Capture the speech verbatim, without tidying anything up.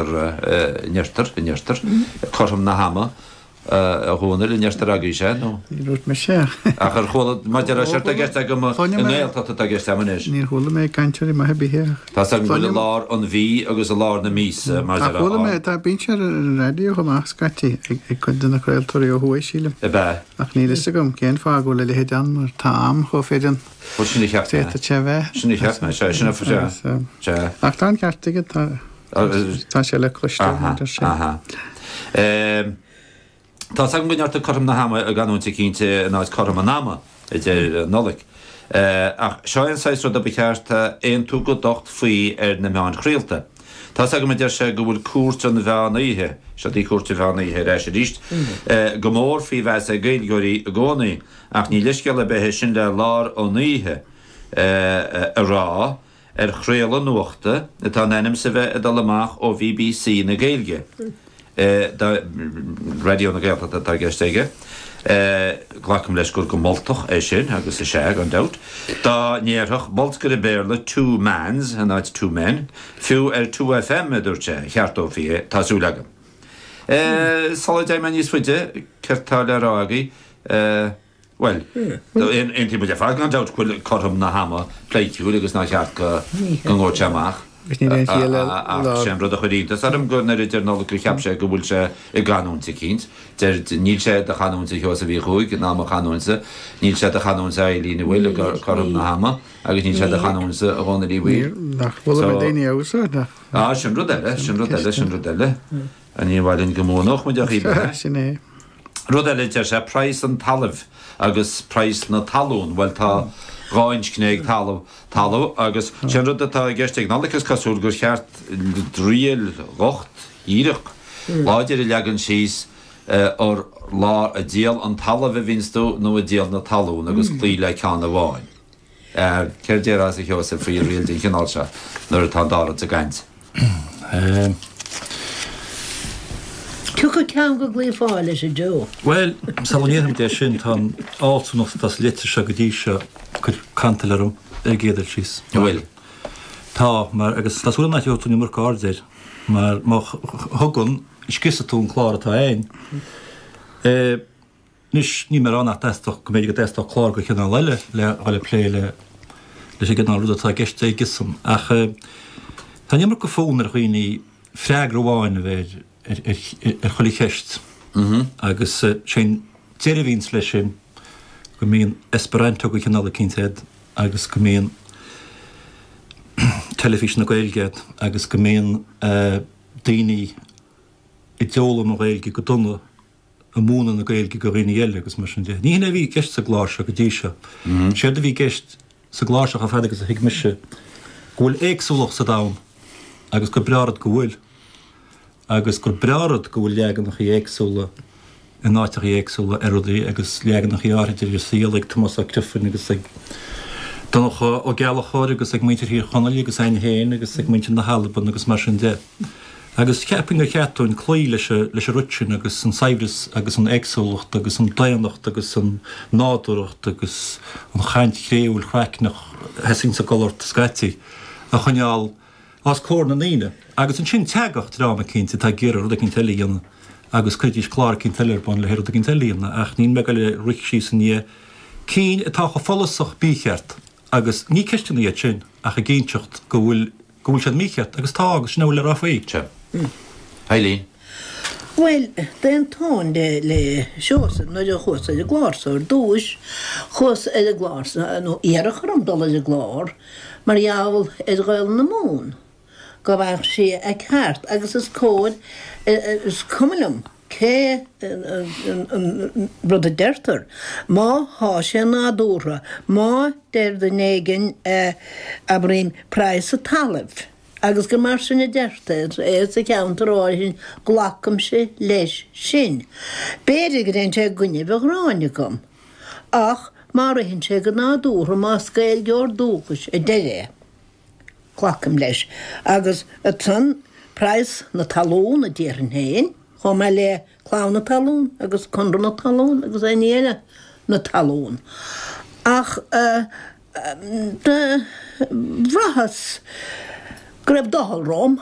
An ndeirtear, an ndeirtear, cothrom na hama, a Dhónaill, an ndeirtear agaibhse, nó? Ní dúirt mise. Ach ar chuala, maidir le séard atá i gceist agam i nGaeltacht atá i gceist agam anois. Níor chuala mé cainteoirí maithe ar bith air. Tá's agam go bhfuil i lár an mhí agus i lár na míosa, mar Ach chuala mé, tá, bíonn sé ar an raidió chomh maith scaití ag cuid de na craoltóirí ó thuaidh, sílim. Ab ea? Ach níl fhios agam cén fáth go bhfuil a leithéid ann mar tá am chomh fireann. Bhuel, sin a cheap mé. D'fhéadfadh sé a bheith. Sin a cheap mé, sea, sin a, sea, sea. Ach tá an ceart aige, tá. Tá sé le cloisteáil, a deir sé. Aha. Tá's agam go ndeirtear cothrom na hama i gcanúint eicínt in áit cothrom an ama, a deir Nollaig. Ach seo é an saghas ruda ba cheart aontú go docht faoi ar na meáin chraolta. Tá's agam, a deir sé, go bhfuil cúirt an mheán oíche, seo í cúirt an mheán oíche ar ais arís, go mór faoi mheas ag Gaeilgeoirí i gcónaí, ach ní leithscéal ar bith é sin le lár an oíche a rá. ar chraoladh nuachta atá in ainm 's a bheith ag dul amach ó BBC na Gaeilge, Raidió na Gaeltachta atá i gceist aige, glacaim leis gur go moltach é sin, agus is ea, gan dabht, dá ndéarfadh bolscaire Béarla two mans in áit two men, fiú ar two FM, a dúirt sé, cheartófaí é, tá súil agam. Sula dtéigh mé níos faide, céard tá le rá agaibh? Bhuel, aontaíonn muid ar fad, gan dabht, go bhfuil cothrom na hama pleidhciúil agus nár cheart go ngabhadh sé amach. Ach sé an rud a chuir iontas orm gur nuair a deir Nollaig gur cheap sé go bhfuil sé i gcanúint eicínt. Deir, níl sé i do chanúint a Sheosaimh Uí Chuaig ná mo chanúintsa, níl sé i do chanúint a Eileen an bhfuil, cothrom na hama, agus níl sé i do chanúintsa a Dhónaill Uí Bhaoill. Nach bhfuil mé daoine a úsáid, nach? Ah, sin rud eile, sin rud eile, sin rud eile. Ní mhaith linn go mbuanódh muid a choíche. Sin é. Rud eile, deir sé, praghas an talaimh agus praghas na talún, bhuel tá dhá inscne ag talamh, talamh, agus sé an rud atá i gceist ag Nollaig is cosúil gur cheart riail dhocht, dhíreach, láidir a leagan síos ar lár ag díol an talaimh a bhíonns tú nó ag díol na talún agus cloí le ceann amháin. Céard déarfása a Sheosaimh faoi riail den chineál seo nuair atá an dá rud sa gcaint? Tiocfaidh ceann go gcloífeá leis, a Joe. Bhuel, sula ndéarfaimid é sin, tá an fhealsúnacht atá sa litir seo go dtí seo ag cur cantail orm ar an gcéad dul síos. An bhfuil? Tá, mar, agus tá súil agam nach dtabharfaidh tú an iomarca aird air, mar má thugann, scriosfaidh tú an clár atá againn. Anois, níl mé ag rá nach dteastódh, go mb'fhéidir go dteastódh clár de chineál eile le dhul ag plé le leis an gcineál ruda atá i gceist aigesan, ach tá an iomarca fonn ar dhaoine freagra amháin a bheith ar ar chuile cheist agus sé an deireadh a bhíonns leis sin go mbíonn Esperanto de chineál eicínt agat agus go mbíonn teilifís na Gaeilge agat agus go mbíonn daoine a d'fhoghlaim an Ghaeilge go dona ag múineadh na Gaeilge go dhaoine eile agus mar sin de. Ní hin é a bhí i gceist sa gclár seo go dtí seo. Séard a bhí i gceist sa gclár seo chomh fada agus a thuig mise go bhfuil éagsúlacht sa domhan agus gur breá rud go bhfuil. Agus gur breá rud go bhfuil leaganachaí éagsúla in áiteachaí éagsúla ar rudaí agus leaganachaí áirithe ar an saol ag Tomás Ó Criomhthain agus ag Donncha Ó Gallchóir agus ag muintir Thír Chonaill agus againn féin agus ag muintir na hAlban agus mar sin de. Agus cheapfainn gur cheart dúinn cloí leis leis an rud sin agus an saibhreas agus an éagsúlacht agus an daonnacht agus an nádúrthacht agus an chaint chréúil chraicneach a sheasaíonns ag gol ort scaití a choinneáil os comhair na ndaoine agus ansin teacht dream eicínt atá ag iarraidh rud eicínt eile a dhéanamh agus cuiridís clár eicínt eile ar bun le haghaidh rud eicínt eile a dhéanamh ach níl mé ag goil ag rith síos i ndiaidh cinn atá chomh follasach mícheart agus ní ceisteanna iad sin ach ag inseacht go bhfuil go bhfuil siad mícheart agus tá agus sin a bhfuil le rá faoi. Sea. Eileen. Bhuel, d'aontóinn le le Seosamh nuair a chuas ar an gclár so ar dtúis, chuas ar an gclár so, nó iarradh orm dul ar an gclár mar gheall ar Ghaolainn na Mumhan, go bhfaigheadh sí a ceart agus is cóir, is cuma liom cé an rud a deirtear, má thá sé nádúrtha, má deir duine éigin, abraím, praghas an talaimh. Agus gur mar sin a deirtear é sa cheantar áirithe sin, glacaimse leis sin. B'fhéidir go dtéann sé i gcoinnibh an ghráin agam. Ach má ritheann sé go nádúrtha, más Gaeilgeoir dúchais a deir é, glacaim leis. Agus ansan, praghas na talún a déarfainn féin, chomh maith le Clann na Talún agus Conradh na Talún agus aon ní eile na talún. Ach. Do bhraitheas go raibh doicheall romham